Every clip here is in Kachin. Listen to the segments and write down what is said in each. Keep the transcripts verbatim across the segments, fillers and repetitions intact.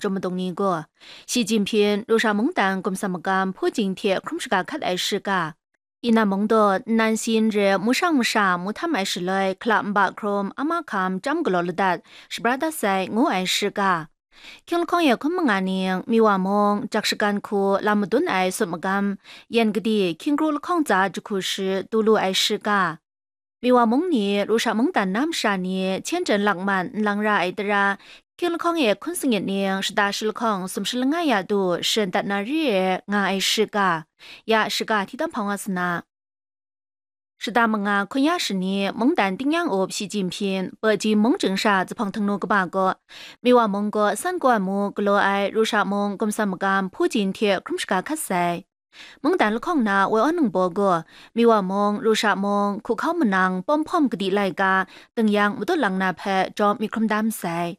Chyum madung ni gaw, Shi Jinping Rusha mungdan gumsam magam Putin hte hkrum shaga hkat ai shiga, Yinnan mung daw nnan shayin re mu shang masha mu htam ai shaloi hkalap nba hkrum a mahkam chyam galaw ladat shabra dat sai ngu ai shiga, hkying lahkawng e hkun manga ning Miwa mung jak shagan hku lam madun ai sut magam, yan gadi hkying kru lahkawng tsa jahku shi du lu ai shiga, Miwa mung ni Rusha mungdan na masha ni Qianzhen lakman nlang ra ai tara, hkying lahkawng e hkun sangit ning shada shi lahkawng sumshi langai ya du sharin dat na re ai nga ai shiga, ya shiga hti tam hpang wa sa na. Shada manga hkun ya shani mungdan tingnyang up Shi Jinping Beijing mung chying sha zuphpawng htingnu kaba gaw, Miwa mung gaw san kaw ai mu galaw ai Rusha mung gumsam magam Putin hte hkrum shaga hkat sai. Mungdan lahkawng na woi aw ningbaw gaw, Miwa mung, Rusha mung, hku hkau manang, pawm hpawm kadi laika, tingyan madut lang na hpe jawm myit hkrum da masai.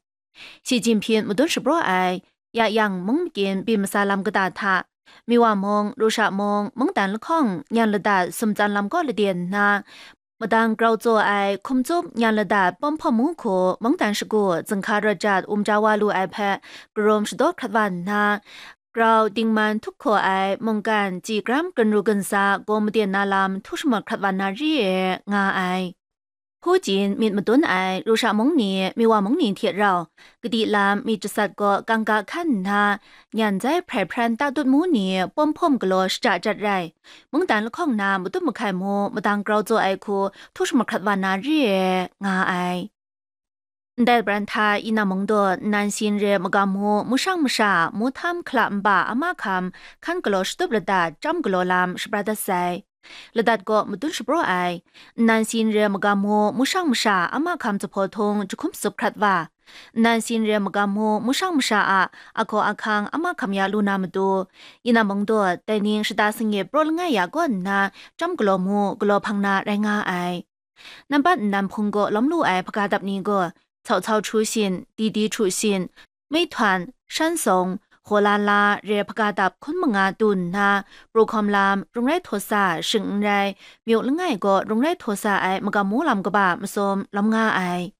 Shi Jinping madun shapraw ai, ya yang mung makyin byin masa lam kata hta, Miwa mung, Rusha mung, mungdan lahkawng nyan ladat sumtsan lam kaw laden nna, madang grau tsaw ai hkum tsup nyan ladat pawm hpawm mu hku mungdan shagu zinghka rawt jat wum ja wa lu ai hpe karum shadaw hkrat wa nna, grau dingman htup hkaw ai mungkan chyi gram ginru ginsa gaw maden na lam htu shamawt hkrat wa na re ai, nga ai. Putin myit madun ai Rusha mung ni Miwa mung ni hte rau, kadi lam myit jasat gaw kangga hkan nna, nyan zai hprai hpran ta dut mu ni pawm hpawm galaw shaja jat rai, mungdan lahkawng na matut mahkai mu madang grau tsaw ai hku htu shamahkrat wa na re ai, nga ai. Ndai bran hta Yinnan mung daw nnan shayin re magam mu, mu shang masha, mu htam hkalap nba a mahkam hkan galaw shatup ladat chyam galaw lam shabra dat sai. Ladat gaw madun shapraw ai. Nnan shayin re magam mu, mu shang masha a mahkam zuphpawt htung jahkum tsup hkrat wa. Nnan shayin re magam mu, mu shang masha a ahkaw ahkang a mahkam ya lu na matu, Yinnan mung daw dai ning shada sangit praw langai ya kaw nna, chyam galaw mu, galaw hpang na rai nga ai. Nambat nnan hpung gaw lawm lu ai hpaga dap ni gaw, Cao Cao Chu Shin, Di Di Chu Shin, Mei Htuan, Shan Song, Hkaw La La re hpaga dap hkun manga du nna, pru hkawm lam, rung rai htaw sa, shing n rai, myu langai gaw rung rai htaw sa ai magam mu lam kaba masum lawm nga ai.